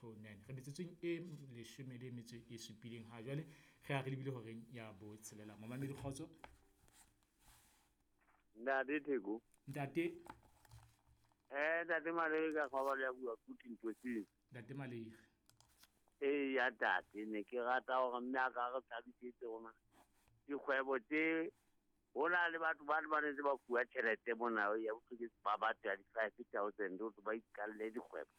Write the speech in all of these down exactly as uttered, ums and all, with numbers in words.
two nine. Re metsotsong e leshome le metso e supileng ha jwale re a re lebile horeng ya botshelela. Momamedi kgotso. Ntate Theko. Ntate. Eh ntate Malei ka kgobalo ya bua kuthi ntoseng. Ntate Malei. Eh ya tate ne ke rata hore mme a ka re thabisetse rona. Dikgwebo tse ho na le batho ba ba ntse ba fuwa tjhelete mona ya bohlokwa ba batho ya di-five thousand hore ba iqalle dikgwebo.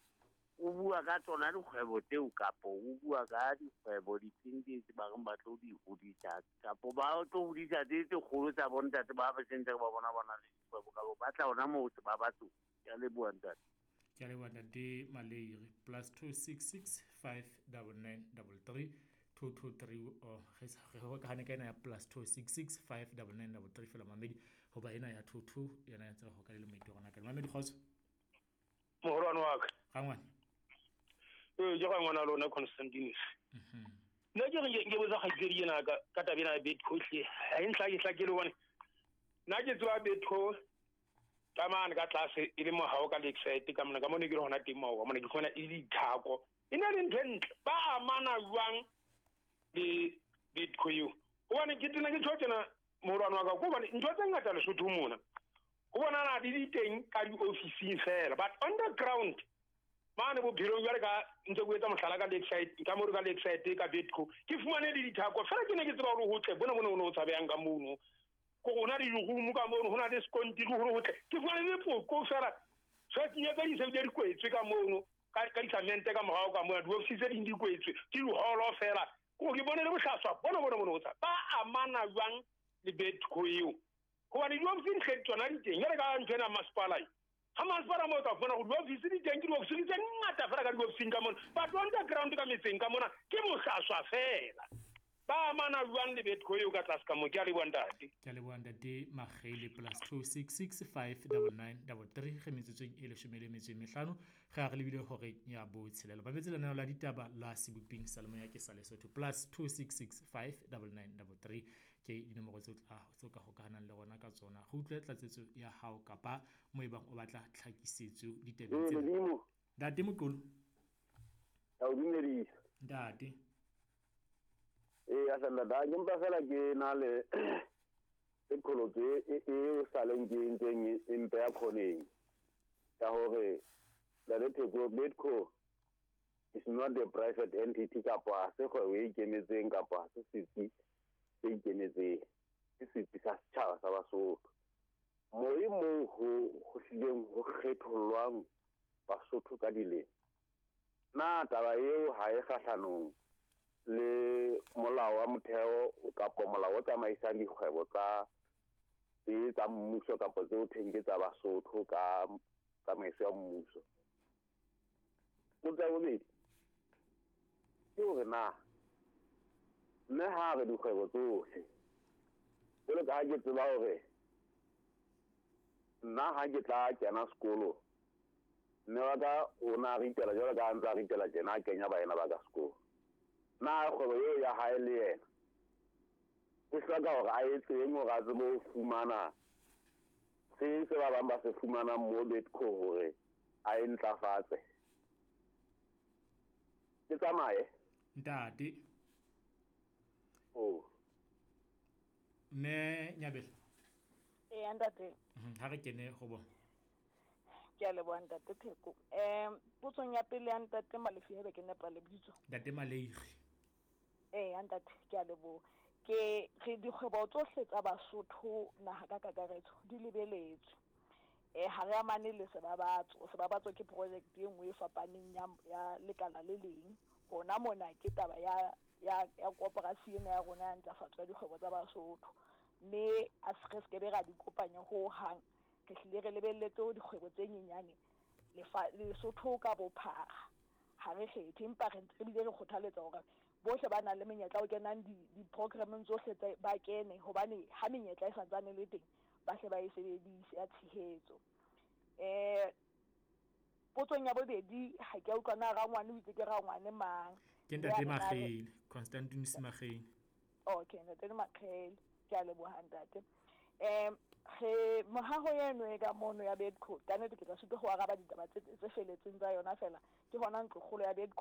O bua ka tsona dikgwebo tseo kapo o bua ka dikgwebo difeng tse ba reng ba tlo di hodisa kapo ba tlo hodisa tse tse kgolo tsa bo ntate ba ba sentse ba bona bona le dikgwebo ka ba tla ona moo ba batho. Ke a leboha ntate. Ke a leboha ntate Malei. Plus two six six five double nine double three two two three. Oh, re hokahane ka ena ya plus two six six five double nine double three fela mamedi hoba ena ya two two yena ya tseba ho ka le moeti rona ka mamedi kgotso. Mohorwane wa ka. Rangwane. Eh ke rangwana lona Constantine. Mhm. Nna ke re ke botsa kgaitsedi ena ka ka taba ena ya Betco hle. Ha e ntlha ke hlakele hobane nna ke tseba Betco ka mane ka tlase e le mohao ka Lakeside ka mona ka mona ke le hona teng moo mona ke fumana e le dithako. E na le ntho e ntle ba amana jwang le Betco eo. Hobane ke tena ke tjho tjena mohorwane wa ka hobane ntho tse ngata Lesotho mona ho bonana di di teng ka diofising fela but on the ground mane bophelong jwale ka ntse ke etsa mohlala ka Lakeside ka mo ka Lakeside ka Betco ke fumane le dithako fela ke ne ke tseba hore ho tle bona bona o tshabeyang ka mono ko rona di room ka mono hona le skontiri hore ho tle ke fumane le poko fela so ke nyaka di sebedi di kwetswe ka mono ka ka disamente ka morao ka mono diofisi tse ding di kwetswe ke diholo fela ko ke bone le bohlaswa bona bona bona o tsa ba amana jwang le Betco eo hobane diofisi di tsona di teng jwale ka ntho ena masepala ha masepala mo tla fumana hore diofisi di teng ke diofisi tse ngata fela ka diofising ka mona batho on the ground ka metseng ka mona ke bohlaswa fela ba amana jwang le Betco eo ka tlase ka mo. Ke a leboha ntate. Ke a leboha ntate Makgele. Plus two six six five double nine double three re metsotsong e leshome le metso e mehlano re a re lebile hore ya botshelela. Ba betse lenaneo la ditaba la seboping sa lemoya ke sa Lesotho. Plus two six six five double nine double three ke dinomoro tseo tla ka hokahanang le rona ka tsona. Re utlwe tlatsetso ya hao kapa mo ebang o batla tlhakisetso ditabeng tsena. Ntate Mokolo. Ka o dumedisa. Ntate. Eh a sala da ke mpa fela ke na le qholotso e e sa leng ke ntseng e mpe ya khoneng ka hore la Theko Betco is not a private entity kapa se kgwebo e ikemetseng kapa se setsi se ikemetseng ke setsi sa setjhaba sa Basotho mo e mo ho ho hlileng ho kgethollwang Basotho ka dilemo. Na taba eo ha e kgahlanong le molao wa motheo kapa molao o tsamaisang dikgwebo tsa tse tsa mmuso kapa tseo thweng ke tsa Basotho ka tsamaiso ya mmuso. Potso ya bobedi ke hore na mme ha re dikgwebo tsohle jwalo ka ha ke tseba hore nna ha ke tla kena sekolo mme wa ka o na ritela jwalo ka ha ntse a ritela tjena a kenya baena ba ka sekolo. Na kgwebo eo ya hae le yena o hloka hore a etseng hore a tsebe ho fumana se se ba bang ba se fumanang mo Betco hore a e ntlafatse. Ke tsamaye ntate. Oh mme Nyabela. Eh ntate. Ha re kene ho bona. Ke a leboha ntate Theko. Um potsong ya pele ya ntate Malefi haebe ke nepa lebitso. Ntate Malei. Eh ntate ke a leboha. Ke re dikgwebo tsohle tsa Basotho naha ka kakaretso di lebeletswe. Eh ha re amane le Sebabatso. Sebabatso ke project e nngwe e fapaneng ya ya lekala le leng. Rona mona ke taba ya ya ya koporasi ena ya rona ya ntlafatso ya dikgwebo tsa Basotho. Mme a se re se be ra di kopanya ho hang. Re hlile re lebelletse ho dikgwebo tse nyenyane Lesotho ka bophara ha re kgethe empa re ntse re bile re kgothaletsa hore bohle ba nang le menyetla o kenang di-programmeng tsohle tse ba kene hobane ha menyetla e santsane le teng ba hle ba e sebedise ya tshehetso. Eh potsong ya bobedi ha ke a utlwa na rangwane o itse ke rangwane mang. Ke ntate Makgele, Constantine Makgele. Okay, ntate Makgele, ke a leboha ntate. Um re mohaho eno e ka mono ya Betco ka nnete ke tla sitwa ho araba ditaba tse tse felletseng tsa yona fela ke hona ntlokgolo ya Betco